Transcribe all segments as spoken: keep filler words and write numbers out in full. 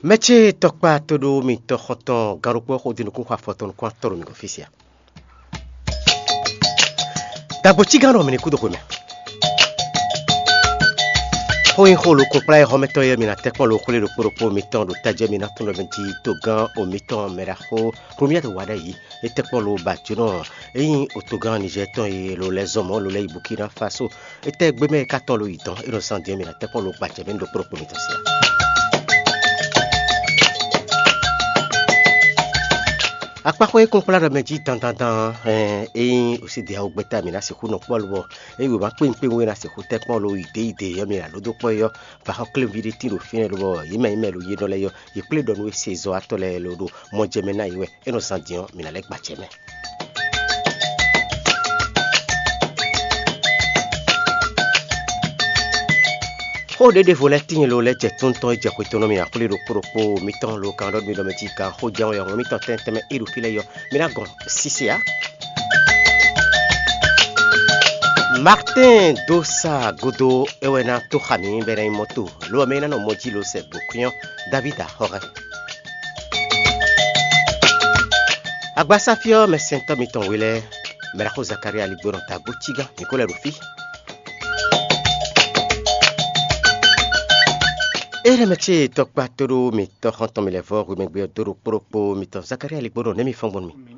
Mɛ ce tɔkpa tóɖó mitɔn xɔntɔn gannukún xo din nukún xɔ afɔtɔn nukún atɔ́ ɖo mi gɔ́n fí sia. Dagbo cígán ɖɔ mi ní kú dó xwe mɛ. Xó nyí xó lukún kplá e xɔmɛtɔ́ yɛ mi ná tɛ́ kpɔ́n lo xwlé ɖokpó ɖokpó mitɔn ɖo tajɛ mi ná tún ɖɔ mi jí togán o mitɔn mɛ ɖaxó Romiɛ́ wa ɖ'ayǐ. É tɛ́ kpɔ́n lo ba jǒnɔ é nyí otogán Nizɛ́ɛ tɔn e lo lɛ́ zɔn mɔ̌ lo lɛ́ yi Bukina Faso. Étɛ́ gbé mɛ e ka tɔn lo yi dɔn é nɔ zán din ɔ́, mi ná tɛ́ kpɔ́n lo gbajɛ mɛ ɖokpó ɖokpó mitɔn sia. Akpaxwé e kún kplá ɖɔ mɛ jí dandandan ɔ́, é nyí osídɛ́ awo gbɛ́ta mi ná sixú nɔ kpɔ́ lobɔ é yi wěma kpéwún kpéwún e ná sixú tɛ́ kpɔ́n lo yi dě yi dě ɔ́, mi ná ɖó dó kpɔ́ é ɔ́, ba xɔ kléwún ví ɖé tín ɖo fínɛ́ lobɔ yě mɛ nyí mɛ lo yé nɔ lɛ́ɛ ɔ́, yě kplé ɖɔ nú é se zɔ́watɔ́ lɛ́ɛ lo ɖo mɔ jɛ mɛ ná yě wɛ, é nɔ zán din ɔ́, mi ná lɛ́ gbajɛ mɛ. Xó ɖěɖěvo lɛ́ɛ tíin lo lɛ́ jɛ tóntɔn e jɛ xwe tɔn nú mì axwlé ɖokpó ɖokpó mitɔn lo kan ɖɔ mi ɖɔ mɛ cí kan xó jɛ́n wɛ ɔ́, mitɔn tɛnmɛ tɛnmɛ e ɖo fí lɛ́ɛ yɔ, mi ná gɔn sise ǎ. Martin Dosa Godo é wɛ ná tó xa mǐ bɔ é ná nyí mɔto, lo ɔ́ mɛ é ná nɔ mɔ jí lo sɛ gbǒkwín ɔ́, David Axɔ́hɛn. Agbasá fí ɔ́, mɛsɛntɔ́ mitɔn we lɛ́ɛ, mɛɖaxó Zakalía Ligbónɔ Tagbó Cígán, mǐ ko lɛ́ ɖo fí. Éɖɛmɛ ce tɔkpa tóɖó mitɔ́ xɔ́ntɔn mi lɛ́ vɔ́ hwemɛgbe ɔ́ dó ɖo kpóɖokpó mitɔn Zakalía Ligbónɔ nɛ́ mi fɔ́n gbɔn nú mì.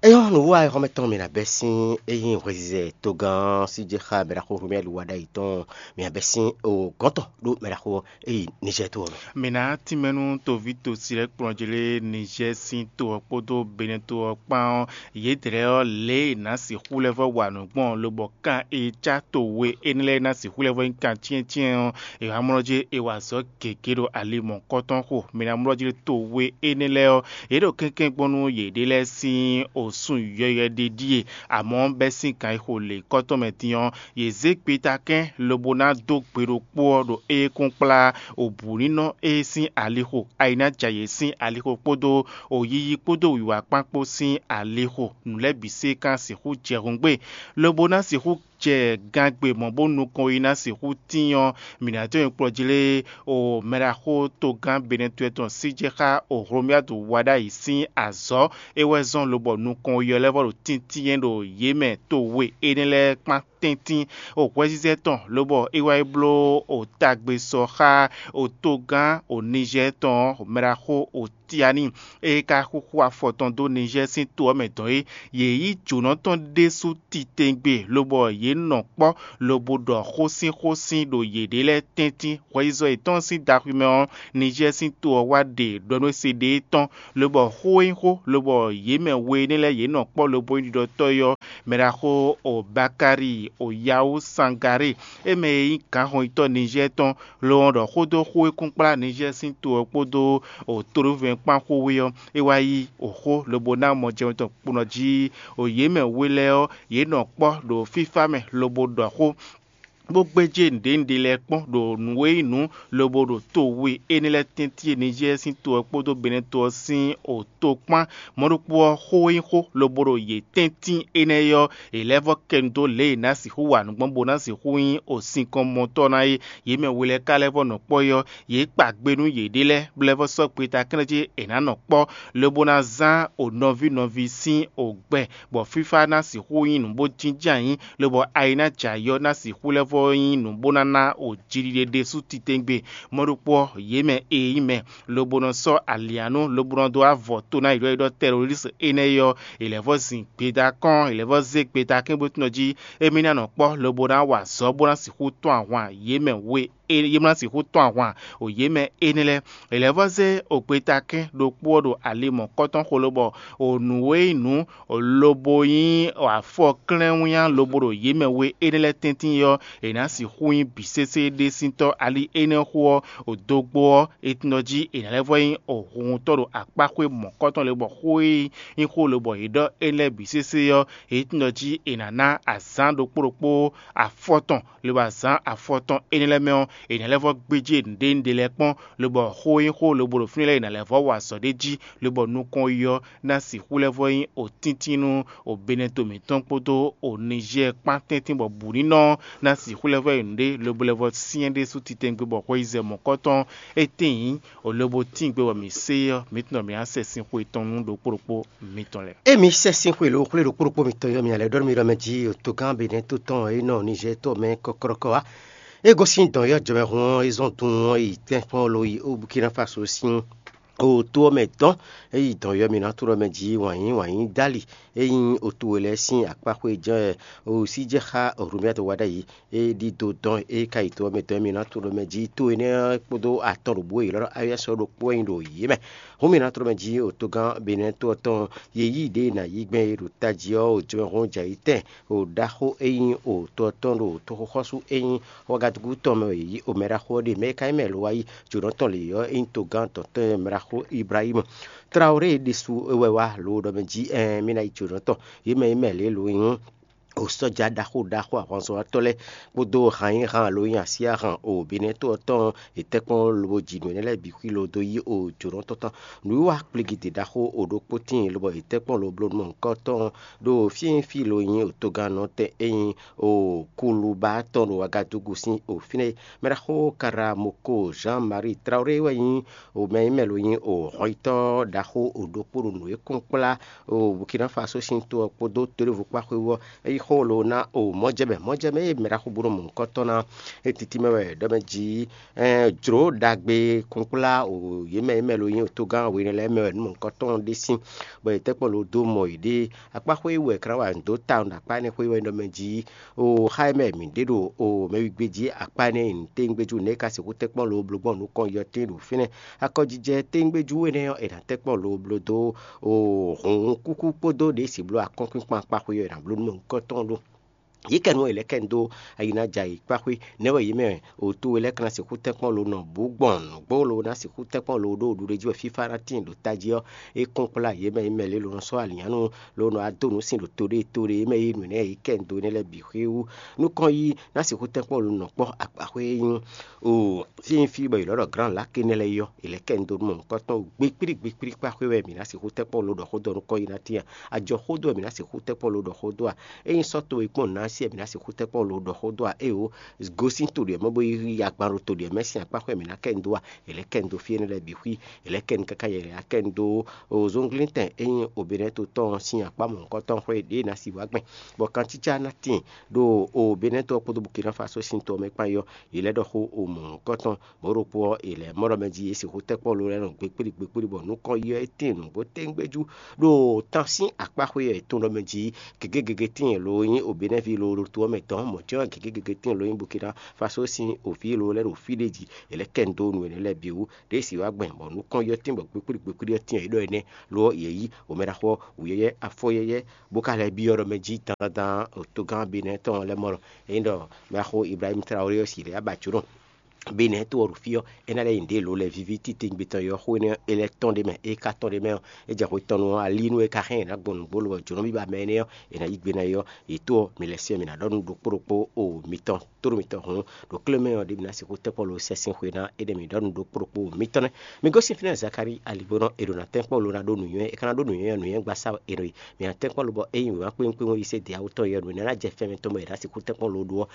Éyɔ́ nǔwiwa e xɔ́mɛtɔn mi ná bɛ́ sín é nyí hwɛzizɛ togán ɔ́ sí jɛ xá mɛɖaxó Romɛli wa ɖ'ayǐ tɔn, mi ná bɛ́ sín o gɔ̌n tɔn ɖó mɛɖaxó ɔ́ e yi Nizɛ́ɛ to ɔ́ mɛ. Mǐ ná tínmɛ nú toví tosi lɛ́ɛ kplɔ́njí lé Nizɛ́ɛ sín to ɔ́ kpódó Benɛ́ to ɔ́ kpán ɔ́, yědɛɛ ɔ́ lě e è nǎ sixú lɛ́ vɔ́ wa nǔ gbɔn lobɔ kan e cá to we énɛ́ lɛ́ɛ ná sixú lɛ́ vɔ́ nyí kan cyɛ́ncyɛ́n ɔ́, è wǎ mlɔ́ jí è wa azɔ̌ gěgé ɖo ali mɔ̌kɔ́tɔn xo. Mǐ ná mlɔ́ jí to we énɛ́ lɛ́ɛ ɔ́, yě ɖo kɛ́nkɛ́n gbɔn nú yěɖée lɛ́ɛ sín osún yɔywɛ ɖé ɖíe, amɔ̌ bɛ́ sín kan e xo lě kɔ́ tɔn mɛ din ɔ́, yě zé gbetakɛ́n lobo ná dó gbe ɖokpó ɔ́ ɖo éyɛ́kúnkplá obǔnínɔ e sín alixo, ayi ná ja yě sín alixo kpódó oyiyi kpódó wǐwá kpán kpó sín alixo. Nǔ lɛ́ɛ bǐ se kan sixú jɛ hǔngbé, lobo ná sixú jɛ gangbe mɔ̌ bó nukɔn yi ná sixú tín ɔ́, mǐ ná dó nyɛ kplɔ́ jí lé o mɛɖaxó togán Benɛtue tɔn sí jɛ xá o Hlomyadu wa ɖ'ayǐ sín azɔ̌ é wɛ zɔ́n lobɔ nukɔn yi ɔ́ lɛ́ vɔ ɖo tíntín ɖo yě mɛ to we énɛ́ lɛ́ɛ kpán tɛ́ntin. O hwɛzizɛ tɔn lobɔ é wá yi bló o tagbe sɔ xá o togán o Nizɛ́ɛ tɔn ɔ́, mɛɖaxó o Tiani, e ka xúxú afɔ tɔn dó Nizɛ́ɛ sín to ɔ́ mɛ dɔn é. Yě yí jǒnɔ tɔn ɖésú titewungbe, lobɔ yě nɔ kpɔ́, lobo ɖɔ xósínxósín ɖo yěɖée lɛ́ɛ tɛ́ntin. Hwɛyizɔ yětɔn sín daxwi mɛ ɔ́, Nizɛ́ɛ sín to ɔ́ wá ɖe ɖɔ nú é se ɖe é tɔn, lobɔ xó e nyí xó, lobɔ yě mɛ we énɛ́ lɛ́ɛ yě nɔ kpɔ́ lobo nyí ɖiɖɔtɔ́ é ɔ́, mɛɖaxó o Bakari o Yawu Sangaré, é mɛ e nyí gǎnhɔnyitɔ́ Nizɛ́ɛ tɔn, lo ɔ́ ɖɔ xó dó xó e kún kplá Nizɛ́ɛ sín to ɔ́ kpódó o tóɖóvɛ́ kpán xó wé ɔ́, é wá yí o xó lobo ná mɔ jɛmɛ tɔn kponɔ jí. O yě mɛ we lɛ́ɛ ɔ́, yě nɔ kpɔ́ ɖo fífá mɛ lobo ɖɔ xó, bó gbéjé nǔɖénúɖé lɛ́ɛ kpɔ́n ɖo nǔ e nyí nǔ lobo ɖo to we énɛ́ lɛ́ɛ tɛ́ntin e Nizɛ́ɛ sín to ɔ́ kpódó Benɛ́ to ɔ́ sín o to kpán. Mɔ̌ ɖokpó ɔ́, xó e nyí xó lobo ɖo yě tɛ́ntin énɛ́ é ɔ́, è lɛ́ vɔ́ kɛ nu dó lě e è nǎ sixú wa nǔ gbɔn bó ná sixú nyí o sinkɔnmɔtɔ́ ná é. Yě mɛ we lɛ́ɛ ka lɛ́ vɔ́ nɔ kpɔ́ é ɔ́, yě kpa gbe nú yěɖée lɛ́ɛ, bó lɛ́ vɔ́ sɔ́ gbeta kɛ́nɛ́ jí è nǎ nɔ kpɔ́, lobo ná zán o nɔví nɔví sín o gbɛ, bɔ fífá ná sixú nyí nǔ bó jínjɔ́n ayǐ, lobɔ ayi ná jɛ ayɔ ná sixú lɛ́ vɔ́ nyí nǔ bó ná ná o jiɖiɖe ɖésú titewungbe. Mɔ̌ ɖokpó ɔ́, yě mɛ e nyí mɛ lobo nɔ sɔ́ alianú lobo nɔ dó avɔ to ná yi ɖɔ yi ɖɔ tɛlɔlísi énɛ́ é ɔ́, è lɛ̌ vɔ́ zin gbeda kɔn, è lɛ̌ vɔ́ zé gbeda kɛ́n bó tunɔ jí émí ná nɔ kpɔ́ lobo ná wa azɔ̌ bó ná sixú tɔ́n ahwan yě mɛ we é yě mlá sixú tɔ́n ahwan o yě mɛ énɛ́ lɛ́ɛ. È lɛ̌ vɔ́ zé o gbeta kɛ́n ɖokpó ɔ́ ɖo ali mɔ̌kɔ́tɔn xo lobɔ o nǔ e nyí nǔ lobo nyí afɔ klɛ́nwínnyá lobo ɖo yě mɛ we énɛ́ lɛ́ɛ tɛ́ntin ɔ́, è nǎ sixú nyí bǐ sésé ɖésíntɔ́. Ali énɛ́ xo ɔ́, o dogbo ɔ́, è tunɔ jí è nǎ lɛ́ vɔ́ nyí o huhuntɔ́ ɖo akpá xwé mɔ̌kɔ́tɔn lobɔ xó e nyí xó lobɔ yě ɖɔ énɛ́ lɛ́ɛ bǐ sésé ɔ́, è tunɔ jí è nǎ ná azǎn ɖokpó ɖokpó afɔ tɔn, lobo azǎn afɔ tɔn énɛ́ lɛ́ɛ mɛ ɔ́, È nǎ lɛ́ vɔ́ gbéjé nǔɖé nǔɖé lɛ́ɛ kpɔ́n, lobɔ xó e nyí xó lobo ɖo fínɛ́ lɛ́ɛ è nǎ lɛ́ vɔ́ wa azɔ̌ ɖ'é jí, lobɔ nukɔn yi ɔ́ ná sixú lɛ́ vɔ́ nyí òtíntín nú òbɛ́nɛto mǐtɔn kpódó ònizɛ́ɛ kpán tɛ́ntin bɔ bǔ ní nɔ ná sixú lɛ́ vɔ́ yi nǔɖé, lobo lɛ́ vɔ́ syɛ́n ɖésú titewungbe bɔ xweyízɛ mɔ̌kɔtɔn é tíin, lobo tíin gbe bɔ mǐ se ɔ́, mǐ tunwun ɖɔ mǐ ná sɛ sin xwe tɔn nú ɖokpó ɖokpó mitɔn lɛ́ɛ. Emi sɛ́ sín xwe lǒ xwlé ɖokpó ɖokpó mitɔn yɔ́ mì alɛ ɖɔ nú mi ɖɔ mɛ jí togán Benɛ́to tɔn e nɔ Nizɛ́ɛ tɔn mɛ kɔ́kɔ́rɔ́kɔ́ wá. É gosín dɔn yɔ́ jɔmɛhun ɔ́, é zɔ́n dun ɔ́ yi tɛ́nkpɔ́n lo yi ó Bukina Faso sín o to ɔ́ mɛ dɔn. É yi dɔn yɔ́ mì ná to ɖɔ mɛ jí wǎnyí wǎnyí dali é nyí otu we lɛ́ɛ sín akpáxwé jɛ́n o sí jɛ xá Hlumia to wá ɖ'ayǐ. É ɖidó dɔn é ka yi to ɔ́ mɛ dɔn mì ná to ɖɔ mɛ jí to énɛ́ ɔ́ kpódó atɔn ɖo bǔ e yě lɔ́ ɖɔ Ayɔ́sɔ ɖokpó wɛ nyí ɖo yě mɛ. Hǔn mì ná tló mɛ jí otogán Benɛ́to ɔ́ tɔn ye yí ɖě e nǎ yí gbɛn é ɖo tají ɔ́, o jɛmɛhún jɛ ayǐ tɛn o ɖaxó e nyí o to ɔ́ tɔn ɖo toxoxɔ́sú e nyí Wagadugu tɔn mɛ wɛ yě yí o mɛɖaxó ɔ́ ɖe. Mɛ e ka nyí mɛ lo wá yí jǒnɔ tɔn lě ɔ́, é nyí togán dɔ̌n tɔn e mɛɖaxó Ibrahímu. Trawlé ɖésú é wɛ wá lo ɖɔ mɛ jí ɛɛn mì ná yi jǒnɔ tɔn. Yě mɛ nyí mɛ lě lo nyí o sɔ́ja ɖaxó ɖaxó ahwanzɔ́watɔ́ lɛ́ɛ kpódó han e han alo nyi así ahan o Benɛ́to ɔ́ tɔn e tɛ́nkpɔ́n lobo ji nǔ énɛ́ lɛ́ɛ bǐ xwí lo dó yí o jǒnɔ tɔn tɔn. Nǔwiwa kplígídě ɖaxó o ɖokpó tíin lobɔ e tɛ́nkpɔ́n lo bló nú mɔ̌hunkɔtɔn ɖo fí e nyí fí lo nyí o togannɔ tɛn e nyí o Kuluba tɔn ɖo Wagadugu sín o fínɛ́. Mɛɖaxó Karamoko Jean Marie Traoré wɛ nyí o mɛ e nyí mɛ lo nyí o hɔnyitɔ́ ɖaxó o ɖokpó ɖo nǔ e kɔn kplá o Burkina Faso sín to ɔ́ kpódó toɖévukpá xwé wú ɔ́, é yí xó lo ná o mɔ̌jɛmɛ mɔ̌jɛmɛ e mɛ ɖaxó bó nɔ mɔ nukɔn tɔn ná. É tití mɛ wɛ ɖɔ mɛ jí jlǒ ɖagbe kplɔ́nkplá o yě mɛ e mɛ lo nyí togán we énɛ́ lɛ́ɛ mɛ wɛ nǔ mɔ̌hunkɔtɔn ɖé sín, bɔ yě tɛ́nkpɔ́n lo dó mɔ yěɖée. Akpá xwé wɛ è ka ná wa nǔ dó ta ɖo akpá énɛ́ xwé wɛ ɖɔ mɛ jí o xá e mɛ mǐ ɖe ɖo o mɛwígbé jí akpá énɛ́ e nǔtɛ́ngbéjú nɛ́ ka sixú tɛ́nkpɔ́n lo bló gbɔn nukɔn yɔtɛ́n ɖo fínɛ́. Akɔjijɛ tɛ́ngbéjú énɛ́ ɔ́, è nǎ tɛ́nkpɔ́n lo bló dó o hǔn kúkú kpódó ɖě si bló akɔ́nkpínkpan akpá xwé ɔ́ è nǎ bló nú mɛ nukɔn tɔn ɖó. Yě kɛ nú è lɛ́ kɛ dó ayi ná jɛ ayǐkpáxwé. Nɛ̌ wɛ yě mɛ oto we lɛ́ɛ ka ná sixú tɛ́nkpɔ́n lo nɔ bǔ gbɔn nǔgbó lo ná sixú tɛ́nkpɔ́n lo ɖó ɖuɖéjí wɛ fífá ná tíin ɖo tají ɔ́? É kɔn kplá yě mɛ e mɛ lě lo nɔ sɔ́ alǐnnyánú lo nɔ wá dó nǔ sin ɖo to ɖé to ɖé mɛ e nǔ énɛ́ yě kɛ dó énɛ́ lɛ́ɛ bǐ xwé wú. Nukɔn yí ná sixú tɛ́nkpɔ́n lo nɔ kpɔ́ akpáxwé e nyí o sín fí bɔ yě lɔ́ ɖɔ glǎn lǎkè nɛ́ lɛ́ɛ yɔ. È lɛ́ kɛ dó nú mɔ̌hunkɔtɔn gbe kplí gbe kpli kpá xwé wɛ mǐ ná sixú tɛ́nkpɔ́n lo ɖɔ xó dó ɔ́ nukɔn yí ná tíin a? Ajɔ xó dó wɛ mǐ ná sixú tɛ́nkpɔ́n lo ɖɔ xó dó a? Ényí sɔ́ towe kpɔ́n nǎ sí wɛ mǐ ná sixú tɛ́nkpɔ́n lo ɖɔ xó dó a? Éeǒ, gosín to ɖě mɛ bó yi agban ɖo to ɖě mɛ sín akpá xwɛ mǐ ná kɛ nu dó a? È lɛ́ kɛ nu dó fí énɛ́ lɛ́ɛ bǐ xwí. È lɛ́ kɛ nu káká yɛ è lɛ́ kɛ nu dó o zɔnglíntɛn e nyí Obɛnɛ́to tɔn ɔ́ sín akpá mɔ̌hunkɔtɔn xwé ɖě ná sí wá gbɛn, bɔ kancícá ná tíin ɖo Obɛnɛ́to ɔ́ kpódó Bukina Faso sín to ɔ́ mɛ kpán yi ɔ́, yě lɛ́ ɖɔ xó o mɔ̌hunkɔtɔn. Mɔ̌ ɖokpó ɔ́, è lɛ̌ mɔ ɖɔ mɛ jí yě sixú tɛ́ kpɔ́n lo lɛ́ɛ nɔ gbe kpíɖi gbe kpíɖi bɔ nǔ kɔn yi ɔ́, é tíin nǔgbó téŋgbéjú ɖo tán sín akpáxwé ɔ́ è tunwun ɖɔ mɛ jí gěgé gěgé tíin lo nyí Obɛnɛ́ví lo ɖo to ɔ́ mɛ dɔ̌n, mɔ̌ jɛ́n ɔ́ gěgé gěgé tíin lo nyí Bukina Faso sín oví lo lɛ́ɛ ɖo fí ɖé jí. È lɛ́ kɛ nu dó nǔ énɛ́ lɛ́ɛ bǐ wú. Ɖěe sì wá gbɛn bɔ nǔ kɔn yi ɔ́ tíin bɔ gbe kpíɖi gbe kpíɖi ɔ́ tíin ɔ́, é ɖɔ énɛ́ lo ɔ́, yě yí omɛɖaxó wǔyɛ́yɛ́, afɔyɛ́yɛ́, bó ka lɛ́ byɔ́ ɖɔ mɛ jí dandan togán Benɛ́ tɔn lɛ́ɛ mɔ ɖɔ ényí ɖɔ mɛxó Ibrahímu Traoré ɔ́ sì lɛ́ abǎ jǒnɔ. Benɛ́ to ɔ́ ɖo fí ɔ́, é ná lɛ́ nyi nǔɖé lo lɛ́ɛ víví titewungbe tɔn e ɔ́ xó énɛ́ é lɛ́ tɔ́n ɖ'é mɛ. É ka tɔ́n ɖ'é mɛ ɔ́, é jɛ hwe tɔn nu ɔ́, ali nú é ka hɛn ná gbɔn nǔgbó lo bɔ jǒnɔ bíbá mɛ énɛ́ ɔ́, è nǎ yí gbe ná é ɔ́, yě tó ɔ́, mi lɛ́ syɛ́n mì ná ɖɔ nú ɖokpó ɖokpó o mitɔn tóɖó mitɔn hǔn, ɖo klé mɛ ɔ́ ɖě mi ná sixú tɛ́nkpɔ́n lo sɛ́n sín xwe ná énɛ́ mi ɖɔ nú ɖokpó ɖokpó mitɔn nɛ́. Mi gosín fínɛ́ Zakalíi aligbónɔ è ɖo ná tɛ́nkpɔ́n lo ná ɖó nǔnywɛ́, è ka ná ɖó nǔnywɛ́ ɔ́, nǔnywɛ́ gbasá è nɔ yi. Mǐ ná tɛ́nkpɔ́n lo bɔ ényí wěma kpéwún kpéwún yí sɛ́ dě awú tɔn yɛ nǔ énɛ́ ná jɛ fɛ́nmɛ tɔn bɔ è nǎ sixú tɛ́nkpɔ́n lo ɖó ɔ́,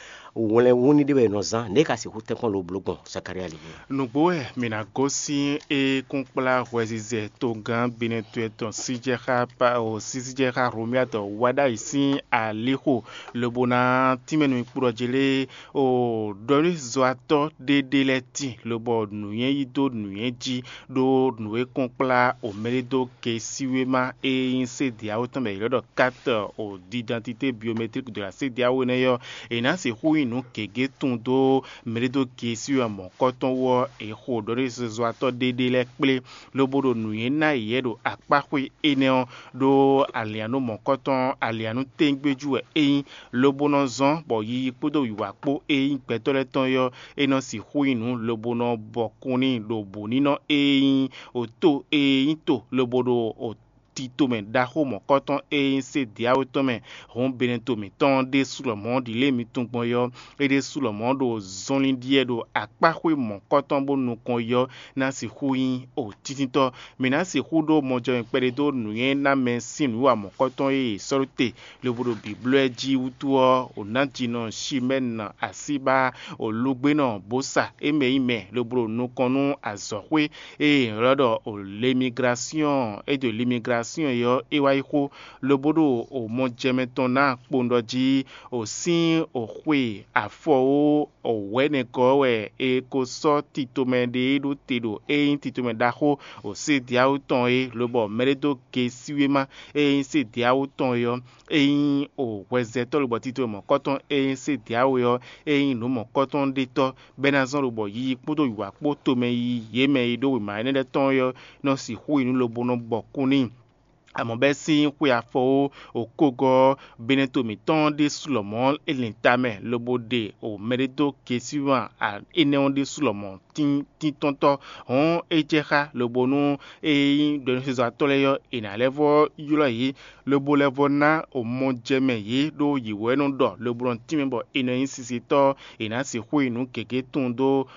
wlɛn wú ní ɖé wɛ è nɔ zán, nɛ̌ è ka sixú tɛ́nkpɔ́n lo bló gbɔn Zakalíi aligbónɔ? Nǔgbó wɛ mǐ ná gosín e kún kplá hwɛzizɛ togán Benɛ́to tɔn síjɛxá Pao sísíjɛxá Hlomia tɔn wá ɖ'ayǐ sín alixo, lobo ná tínmɛ nú kplɔ́ jí lé o ɖɔlízɔ́watɔ́ ɖé ɖé lɛ́ɛ tíin, lobɔ nǔnywɛ́ yí dó nǔnywɛ́ jí, ɖó nǔ e kɔn kplá o mɛɖé dó gesíwéma e nyí sédéawo tɔn mɛ è ylɔ́ ɖɔ carte o d'identité biométrique de la CEDEAO énɛ́ ɔ́, è nǎ sixú nyi nǔ gěgé tunwun dó mɛɖé dó gesíwéma mɔ̌kɔtɔn wú ɔ́, è xo ɖɔlízɔ́watɔ́ ɖé ɖé lɛ́ɛ kplé, lobo ɖo nǔnywɛ́ ná yě ɖo akpáxwé énɛ́ ɔ́, ɖó alǐannú mɔ̌kɔtɔn alǐannú tégbéjú wɛ é nyí, lobo nɔ zɔ́n bɔ yiyi kpódó wǐwá kpó e nyí gbɛtɔ́ lɛ́ɛ tɔn é ɔ́, é nɔ sixú nyí nǔ lobo nɔ bɔkun n'i ɖo bǔnínɔ e nyí oto e nyí to lobo ɖo titomɛ ɖaxó mɔ̌kɔtɔn e nyí Sediawu tɔn mɛ. Hǔn Beneto mǐtɔn ɖésú lɔmɔ̌ ɖi lě mi tunwun gbɔn é ɔ́, é ɖésú lɔmɔ̌ ɖo zɔnlin ɖiɛ ɖo akpáxwé mɔ̌kɔtɔn bó nukɔn yi ɔ́ ná sixú nyí o tíntítɔ́. Mǐ ná sixú ɖó mɔjɔmɛ kpɛɖé dó nǔnywɛ́ ná mɛ sín nǔwiwa mɔ̌kɔtɔn e è sɔ́ ɖó te lobo ɖo bǐblɔ́ ɛ jí wútu ɔ́, o nǎjínɔ Simɛ́n asíbá o lugbénɔ bó sa é mɛ nyí mɛ lobo ɖo nukɔn nú azɔ̌xwé e è ylɔ́ ɖɔ o lemigrasyɔ́n é ɖo limigrasyɔ́n é ɔ́ é wá yi xó, lobo ɖo o mɔjɛmɛ tɔn ná kpowun ɖɔ jí o sín o xwe afɔ ó o wɛ̌nɛgɔ́ wɛ è ko sɔ́ titomɛ ɖé ɖó te ɖo é nyí titomɛ ɖaxó o Sediawu tɔn é, lobɔ mɛɖé dó gesíwéma e nyí Sediawu tɔn é ɔ́, é nyí o hwɛzɛtɔ́ lobɔ titomɛ mɔ̌kɔtɔn e nyí Sediawu é ɔ́, é nyí nǔ mɔ̌kɔtɔn ɖétɔ́, bɔ é ná zɔ́n lobɔ yiyi kpódó wǐwá kpó tomɛ yiyi yě mɛ e ɖó wěma énɛ́ lɛ́ɛ tɔn é ɔ́ nɔ sixú yi nú lobo nɔ bɔ kú n'i. Amɔ̌ bɛ́ sín xwe afɔ ó, okógɔ́ Beneto mǐtɔn ɖésú lɔmɔ̌ é lɛn ta mɛ lobo ɖe o mɛɖédókesíwan énɛ́ ɔ́ ɖésú lɔmɔ̌ tíntɔ́ntɔ́. Hɔ̌n é jɛ xá lobo nú é nyí ɖɔ̌núsezɔ́watɔ́ lɛ́ɛ ɔ́, è nǎ lɛ́ vɔ́ ylɔ́ yě, lobo lɛ́ vɔ́ ná o mɔ jɛ mɛ yě ɖó yě wɛ nɔ ɖɔ lobo nɔ tínmɛ bɔ è nɔ nyí sisitɔ́. È nǎ sixú yi nǔ gěgé tunwun dó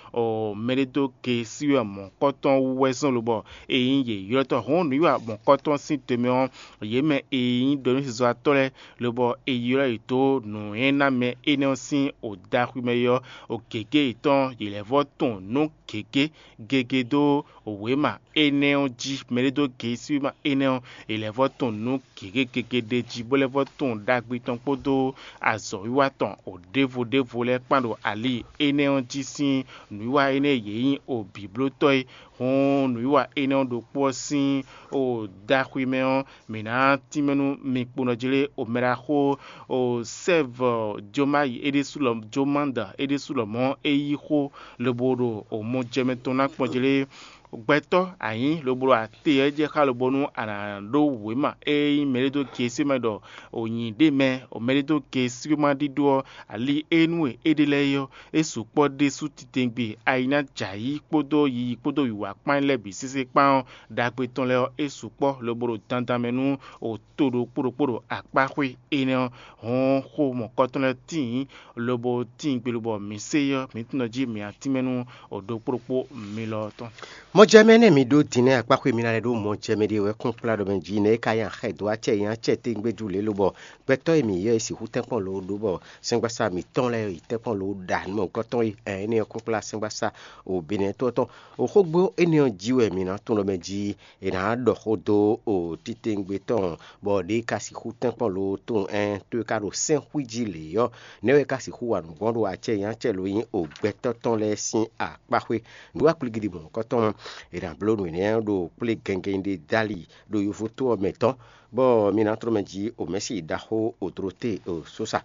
mɛɖédókesíwan mɔ̌kɔtɔn wú wɛ zɔ́n lobɔ è nyí yě ylɔ́tɔ́. Hɔ̌n nǔwiwa mɔ̌kɔtɔn sín te mɛ ɔ́, yě mɛ e nyí ɖɔ̌núsezɔ́watɔ́ lɛ́ɛ, lobɔ è ylɔ́ yě dó nǔnywɛ́númɛ énɛ́ ɔ́ sín odaxwimɛ é ɔ́, o gěgé yětɔn yě lɛ́ vɔ́ tunwun nǔ gěgé gege dó wěma énɛ́ ɔ́ jí. Mɛɖédógesíwéma énɛ́ ɔ́, è lɛ́ vɔ́ tunwun nǔ gěgé gege ɖ'é jí, bó lɛ́ vɔ́ tunwun ɖagbe tɔn kpódó azɔ̌wiwa tɔn o ɖěvo ɖěvo lɛ́ɛ kpán ɖo ali énɛ́ ɔ́ jí sín nǔwiwa énɛ́ e yě nyí o bǐblótɔ́ é. Hɔn nǔwiwa énɛ́ ɔ́ ɖokpó ɔ́ sín o daxwimɛ ɔ́, mǐ ná tínmɛ nú mi kponɔ jlé o mɛɖaxó o sɛ́vɔ Jomayi é ɖésú lɔ Jomanda é ɖésú lɔmɔ̌ é yí xó lobo ɖo o mɔ jɛ mɛ tɔn ná kpɔn jlé. Gbɛtɔ́ a nyǐ lobo ɖo ate ɔ́ jɛ xá lobo nú a nǎ ɖó wěma e nyí mɛɖédógesíwéma ɖɔ o nyi ɖ'é mɛ, o mɛɖédógesíwéma ɖíɖó ɔ́, ali e nú e é ɖe lɛ́ɛ é ɔ́, é sukpɔ́ ɖésú titewungbe ayi ná jɛ ayǐ kpódó yiyi kpódó wǐwá kpán lɛ́ɛ bǐ sésé kpán ɔ́, ɖagbe tɔn lɛ́ɛ ɔ́, é sukpɔ́ lobo ɖo dandan mɛ nú o to ɖokpó ɖokpó ɖo akpáxwé énɛ́ ɔ́. Hɔn xó mɔ̌kɔtɔn lɛ́ɛ tíin lobo tíin gbe lobɔ mǐ se ɔ́, mǐ tunɔ jí mǐ atínmɛ nú o ɖokpó ɖokpó mi lɔ tɔn. Mɔjɛmɛ nɛ́ mi ɖó din nɛ́ akpáxwé mi ná lɛ́ ɖó mɔjɛmɛ ɖé wɛ kún kplá ɖɔ mɛ jí nɛ́ é ka nyi axɛ dó acɛ nyi acɛ tégbéjú lě lobɔ gbɛtɔ́ e mǐ ylɔ́ e sixú tɛ́nkpɔ́n lǒ ɖó bɔ sɛ́ngbasá mǐtɔn lɛ́ɛ yi tɛ́nkpɔ́n lǒ ɖa nǔ mɔ̌hunkɔtɔn e ɛn énɛ́ ɔ́ kún kplá sɛ́ngbasá o Benɛtɔ́ tɔn. O xógbó énɛ́ ɔ́ jí wɛ mǐ ná tunwun ɖɔ mɛ jí è nǎ ɖɔ xó dó o titewungbe tɔn bɔ ɖě ka sixú tɛ́nkpɔ́n lǒ tunwun ɛn tó e ka ɖo sɛ́nxwí jí lě ɔ́, nɛ̌ wɛ é ka sixú wa nǔ gbɔn ɖo acɛ nyi acɛ lǒ nyí o gbɛtɔ́ tɔn lɛ́ɛ sín akpáxwé. Nǔ wa kplígídi mɔ̌hunkɔtɔn è nǎ bló nǔ énɛ́ ɖo kplé gɛngɛn ɖé dali ɖo yovo tó ɔ́ mɛ tɔn, bɔ mi ná tlɔ́ mɛ jí o mɛ̌si ɖaxó o Dorote o Sosa.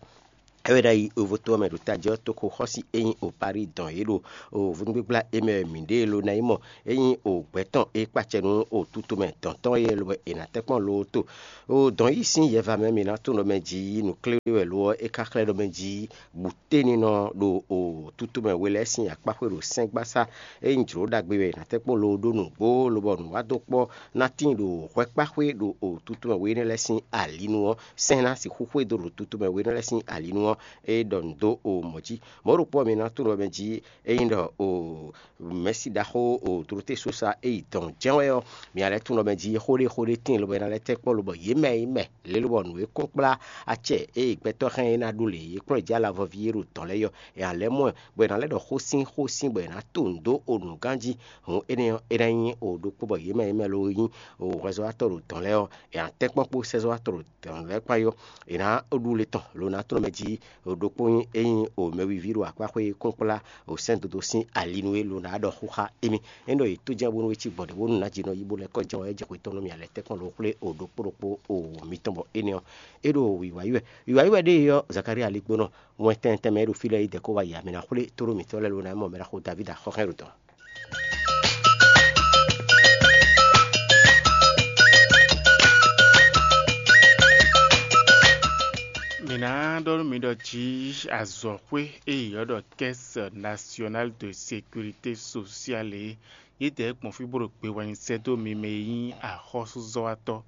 É wɛ ɖ'ayǐ yovo tó ɔ́ mɛ ɖo tají ɔ́, toxo xɔ́si e nyí o Parí dɔn yě ɖo o vúnúgbígbla e mɛ wɛ mǐ ɖe lo ná yi mɔ é nyí o gbɛ̌ tɔn e kpacɛ nú o tutomɛ dɔ̌n tɔn é lobɔ è nǎ tɛ́nkpɔ́n lo to. O dɔ̌n yí sín yɛva mɛ mi ná tunwun ɖɔ mɛ jí nǔkléwlé wɛ lo ɔ́, é ka xlɛ́ ɖɔ mɛ jí bǔténinɔ ɖo o tutomɛ we lɛ́ɛ sín akpáxwé ɖo sɛ́ngbásá e nyí jlǒ ɖagbe wɛ è nǎ tɛ́nkpɔ́n lo ɖó nǔgbó lobɔ nǔwádókpɔ́ ná tíin ɖo hwɛkpáxwé ɖo o tutomɛ we énɛ́ lɛ́ɛ sín ali nu ɔ́, sɛ́n ná sixú xwedó ɖo tutomɛ we énɛ́ lɛ́ɛ sín ali nu ɔ́, é ɖɔ nǔ dó o mɔ̌ jí. Mɔ̌ ɖokpó ɔ́, mi ná tunwun ɖɔ mɛ jí ényí ɖɔ o mɛ̌si ɖaxó o Dorote Sosa e yi dɔn jɛ́n wɛ ɔ́, mi ná lɛ́ tunwun ɖɔ mɛ jí xó ɖé xó ɖé tíin lobo é ná lɛ́ tɛ́ kpɔ́ lobɔ yě mɛ e nyí mɛ lě lobɔ nǔ e kún kplá acɛ e gbɛtɔ́ hɛn é ná ɖó lě é kplɔ́n jǎ lavɔví e ɖo dɔ̌n lɛ́ɛ yɔ, è nǎ lɛ́ mɔ ɛ, bɔ è nǎ lɛ́ ɖɔ xó sín xó sín bɔ è nǎ to nǔ dó o nǔgán jí. Hǔn énɛ́ ɔ́, é ná nyí o ɖokpó bɔ yě mɛ e nyí mɛ ló nyí o hwɛzɔ́watɔ́ ɖo dɔ̌n lɛ́ɛ ɔ́, è nǎ tɛ́nkpɔ́n kpó sɛ́zɔ́watɔ́ ɖo dɔ̌n lɛ́ɛ kpán yó. È nǎ ɖu le tɔn lo ná tlɔ́n mɛ jí ɖokpó nyí ényí o mɛwiví ɖo akpáxwé kún kplá o sɛ́n dodo sín ali nú é lo ná ɖɔ xó xá émí. É ɖɔ yě tó jɛ́n bónú é cí gbɔn ɖě bónú nǎ jí nɔ yí bó lɛ́ kɔ jɛ́n wɛ é jɛ xwetɔ́n nú mì alɛ tɛ́nkpɔ́n lo xwlé o ɖokpó ɖokpó o wǒ mitɔn bɔ énɛ́ ɔ́, é ɖo wǐwá yi wɛ. Wǐwá yi wɛ ɖée ɔ́, Zakalía ligbónɔ wɛn tɛnmɛ tɛnmɛ é ɖo fí lɛ́ɛ yi dɛ̌ kó wá yi amɛ ná xwlé tóɖó mǐtɔn lɛ́ɛ lo ná mɔ mɛ ɖaxó Davída xɔxɛ́n ɖo dɔ̌n. Mǐ ná ɖɔ nú mi ɖɔ jí azɔ̌xwé e yě ylɔ́ ɖɔ Caisse Nationale de Sécurité Sociale é, yědɛɛ gbɔn fí bó ɖo gbe wɛ nyi sɛ́ dó mi mɛ e nyí axɔ́súzɔ́watɔ́,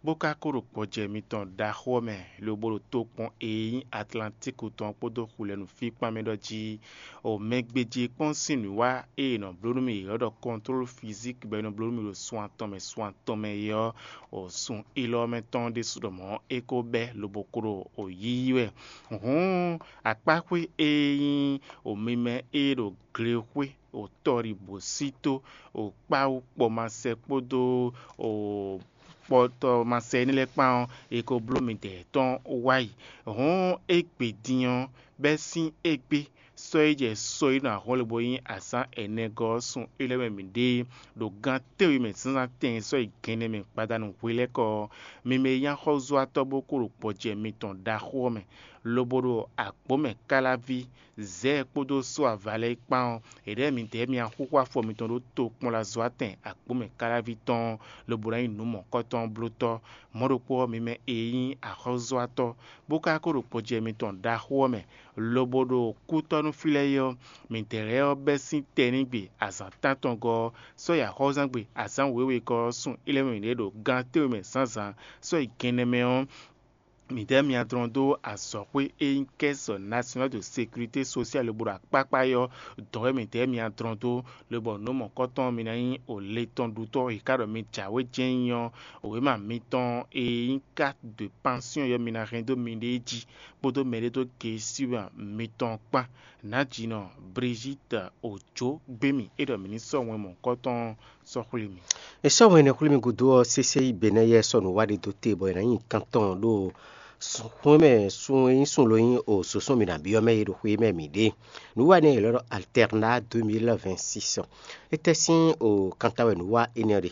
bó ka ko ɖo gbɔjɛ mitɔn ɖaxó ɔ́ mɛ, lobo ɖo tokpɔn e nyí Atlantíku tɔn kpódó xulɛnu fí kpán mɛ ɖɔ jí, o mɛ gbéjí kpɔ́n sín nǔwiwa e è nɔ bló nú mì yě ɔ́ ɖɔ kɔntlólu fizík bɔ è nɔ bló nú mì ɖo sun atɔn mɛ sun atɔn mɛ é ɔ́, o sun élɔ́ mɛ tɔn ɖésú ɖɔ mɔ̌ é ko bɛ́ lobo ko ɖo o yíyí wɛ. Hǔn akpáxwé e nyí o mimɛ e ɖo glexwé o tɔ́ɖibǔsító o kpáwú kpɔmasɛ kpódó o kpɔtɔmasɛ énɛ́ lɛ́ɛ kpán ɔ́, è ko bló midɛɛ tɔn wá yi. Hǔn égbé din ɔ́, bɛ́ sín égbé sɔ́ yi jɛ sɔ́ yi nɔ ahɔ́nlin bó nyí azǎn ɛnɛgɔ́ ɔ́ sun é lɛ́ɛ mɛ mǐ ɖe ɖo gan tɛ́nwe mɛ zǎnzǎn tɛn sɔ́ yi gɛnnɛ mɛ gbadanu hwelɛ́kɔ ɔ́, mi mɛ e nyí axɔ́zúatɔ́ bó kó ɖo gbɔjɛ mitɔn ɖaxó ɔ́ mɛ, lobo ɖo agbǒ mɛ káláví Zɛ̌ kpódó só ava lɛ́ɛ kpán ɔ́, è ɖɛ̌ midɛɛ mì axúxú afɔ mitɔn ɖó tokpɔnlazɔ́ atɛn agbǒmɛ káláví tɔn ɔ́, lobo ná nyí nǔ mɔ̌kɔtɔn blótɔ́. Mɔ̌ ɖokpó ɔ́, mi mɛ e nyí axɔ́zɔ́watɔ́, bó ka ko ɖo gbɔjɛ mitɔn ɖaxó ɔ́ mɛ, lobo ɖo kútɔ́ nú fí lɛ́ɛ é ɔ́, midɛɛ lɛ́ɛ ɔ́ bɛ́ sín tɛnígbe azǎn tántɔngɔ́ ɔ́, sɔ́ yi axɔ́zangbe azǎn wěwegɔ́ ɔ́ sun é lɛ́ɛ mɛ mǐɖée ɖo gan tɛ́nwe mɛ zǎnzǎn, sɔ́ yi gɛnnɛ mɛ ɔ́, midɛɛ mì adlɔn dó azɔ̌xwé e nyí Caisse Nationale de Sécurité Sociale lobo ɖo akpákpá é ɔ́, dɔ̌n wɛ midɛɛ mì adlɔn dó, lobɔ nǔ mɔ̌kɔtɔn mi ná nyí o le tɔn ɖutɔ́ e ka ɖɔ mi jǎwe jɛ́n nyí ɔ́, wěma mitɔn e nyí carte de pension ɔ́ mi ná hɛn dó miɖée jí, kpódó mɛɖédógesíwɛn mitɔn kpán. Nǎjinɔ Brigitte Ojo gbé mì é ɖɔ mǐ ní sɔ́ wɛn mɔ̌kɔtɔn sɔ́ xwlé mì. È sɔ́ wɛn énɛ́ xwlé mì gúdo ɔ́, sésé yi Benɛ́ yɛ sɔ́ nǔ wa ɖé dó te bɔ è nǎ nyi tántɔn ɖo xwé mɛ sun e nyí sun lo nyí o sǒsɔ́n mì nǎ byɔ́ mɛ e ɖo xwé mɛ mǐ ɖe. Nǔ wa énɛ́ è lɔ́ ɖɔ Alternat deux mille vingt-six. Étɛ́ sín o kanta wɛ nǔ wa énɛ́ ɔ́ ɖe?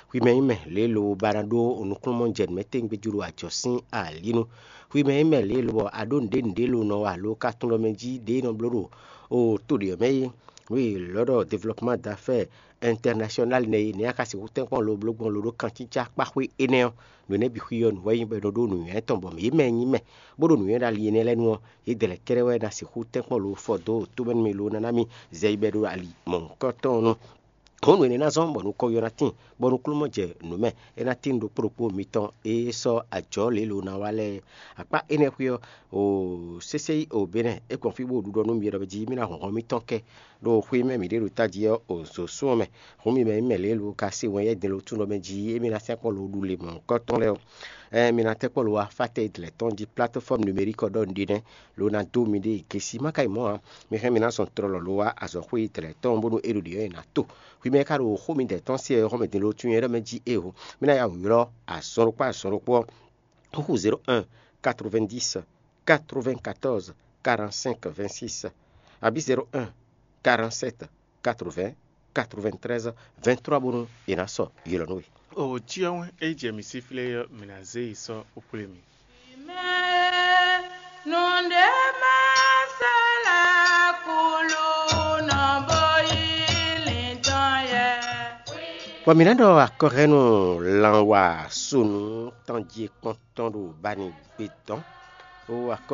Xwi mɛ nyí mɛ lě lo ba ná ɖó nukúnnú jɛ nǔ mɛ tɛ́ngbé jí ɖo ajɔ̌ sín alǐnu. Xwi mɛ nyí mɛ lě lo bɔ a ɖó nǔɖé nǔɖé lo nɔ wa alo ka tunwun ɖɔ mɛ jí ɖě e nɔ bló ɖo o to ɖě ɔ́ mɛ é. Nǔ e è lɔ́ ɖɔ développement d'affaires international nɛ́ é, nɛ̌ a ka sixú tɛ́nkpɔ́n lo bló gbɔn lo ɖó kancícá kpáxwé énɛ́ ɔ́? Nǔ énɛ́ bǐ xwí ɔ́, nǔ wɛ nyí bɔ è nɔ ɖó nǔnywɛ́ tɔn bɔ mǐ mɛ nyí mɛ, bó ɖo nǔnywɛ́ ɖo ali énɛ́ lɛ́ɛ nu ɔ́, yě dɛ lɛ́ɛ kɛ́ɖɛ́ wɛ ná sixú tɛ́nkpɔ́n lo fɔ dó tómɛ nú mì lo ná ná mì zɛ yi bɔ è ɖo ali mɔ̌hunkɔtɔn ɔ́ nu. Hǔn nǔ énɛ́ ná zɔ́n bɔ nukɔn yɔ ná tíin, bɔ nukúnnú jɛ nǔ mɛ, é ná tíin ɖokpó ɖokpó mitɔn e sɔ́ ajɔ̌ lě lo ná wa lɛ́ɛ. Akpá énɛ́ xwé ɔ́, o sésé yi o Benɛ́ é gbɔn fí bó ɖuɖɔ nú mi ɖɔ jí mì ná hlɔ̌nhlɔ́n mitɔn kɛ ɖo xwé mɛ mǐ ɖe ɖo tají ɔ́, o zǒ sún ɔ́ mɛ. Hǔn mi mɛ nyí mɛ lě lo ka se wɛn yɛ́ din lo tún ɖɔ mɛ jí émí ná sɛ́ kpɔ́ lo ɖu le mɔ̌hunkɔtɔn lɛ́ɛ ɔ́, ɛɛ mi ná tɛ́ kpɔ́ lo wá fá tɛ́ yi dlɛ̌ tɔn jí plateforme numérique ɔ́ ɖɔ un ɖi nɛ́, lo ná dó miɖée yi gesi má ka yi mɔ̌ ǎ. Mi hɛn mi ná zɔn tlɔlɔ lo wá azɔ̌xwé yi dlɛ̌ tɔn bónú é ɖo ɖě ɔ́ è nǎ to. Hwi mɛ e ka ɖo xó midɛɛ tɔn se ɔ́, xɔ́mɛ din lo tún nyɛ ɖɔ mɛ jí éeǒ. Mì ná ya wǔ ylɔ́ azɔn ɖokpó azɔn ɖokpó ɔ́, xúxú zéro un quatre-vingt-dix quatre-vingt-quatorze quarante-cinq vingt-six, abǐ zéro un quarante-sept quatre-vingts quatre-vingt-treize vingt-trois bónú è nǎ sɔ ylɔ́ nú we. O cyɔ́n é jɛ mǐ síflé ɔ́, mǐ ná zé yi sɔ́ xwlé mì. Nǔɖé má sɔ́ lɛ́ kúlú nɔ bó yí lǐntɔn yɛ. Bɔ mǐ ná ɖɔ akɔhɛ́nú lanwa sonu tɔn jí kpɔ́n tɔn ɖo bani gbé tɔn. O akɔ